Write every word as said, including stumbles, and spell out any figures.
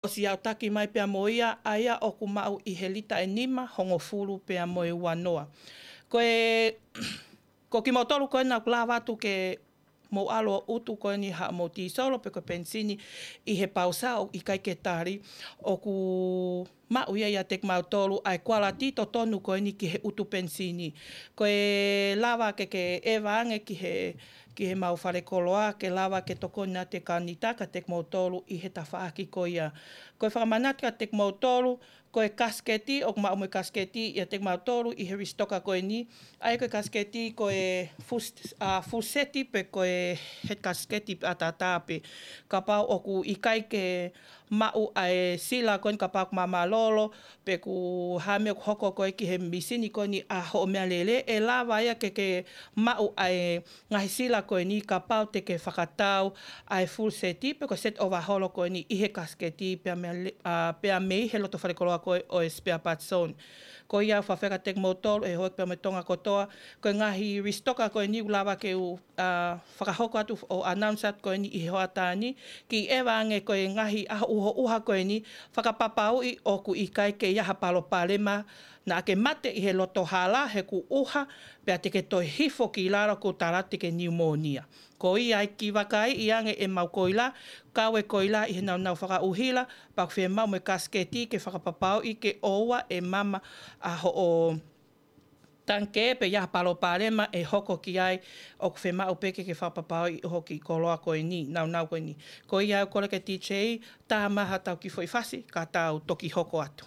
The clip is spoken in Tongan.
ʻosi aʻutaki mai pea mo ia, ʻa ia ʻoku maʻu ʻi he lita ʻe nima, hongofulu pea mo e uanoa. Ko e, ko kimoutolu ko ena ʻoku lava atu ke mou ʻalu ʻo ʻutu ko eni haʻamou tīsolo pe ko e penisini ʻi he pausa ʻoku ʻikai ke tali, ʻoku maʻu ia ʻiate kimautolu ʻa e kualiti totonu ko eni ki he ʻutu penisini. Ko e lava ke ke ʻeva ange ki he, ki heʻemau falekoloa, ke lava ke tokoni atu e kanita kiate kimoutolu ʻi he tafaʻaki ko ia. Ko e fakamanatu kiate kimoutolu, ko e kasiketi, ʻoku maʻu mo e kasiketi ʻiate kimautolu ʻi he lisitoka ko eni, ʻa ia ko e kasiketi ko e fus-, ʻa, fuseti pe ko e head kasiketi ʻataʻatā pē. Kapau ʻoku ʻikai ke maʻu ʻa e sila ko eni, kapau ʻoku māmālōlō, pe ʻoku hā e meʻa ʻoku hoko ko ē ki he misini ko eni ʻa hoʻo meʻalele, ʻe lava ia ke ke maʻu ʻa e ngaahi sila ko eni kapau te ke fakatau ʻa e fuseti pe ko e set overhaul ko eni ʻi he kasiketi pea mei, ʻa, pea mei he loto falekoloa ko ē ʻo e spare parts zone. Ko ia ʻoku ou fakaafeʻi atu kiate kimoutolu ʻe houʻeiki pea mo e Tonga kotoa, ko e ngaahi lisitoka ko eni ʻoku lava ke u, ʻa, fakahoko atu ʻo announce atu ko eni ʻi he hoʻatā ni, ke ʻeva ange ko e ngaahi ʻaho ʻuhoʻuha ko eni, fakapapauʻi ʻoku ʻikai ke ʻi ai ha palopalema naʻa ke mate ʻi he loto hala he kuo ʻuha, pea te ke toe hifo ki lalo kuo tala te ke niumōnia. Ko ia ai ke vakaiʻi ange ʻemau koila, kau e koila ʻi he nāunau fakaʻuhila, pea ʻoku fiemaʻu mo e kasiketi ke fakapapauʻi ke ʻoua ʻe mama ʻa hoʻo tangikē pe ʻi ai ha palopalema ʻe hoko ki ai, ʻoku fiemaʻu pē ke ke fakapapauʻi ʻoku hoko e koloa ko eni, nāunau ko eni. Ko ia au kole ki he D J, tā mai haʻatau kiʻi foʻi fasi, ka tau toki hoko atu.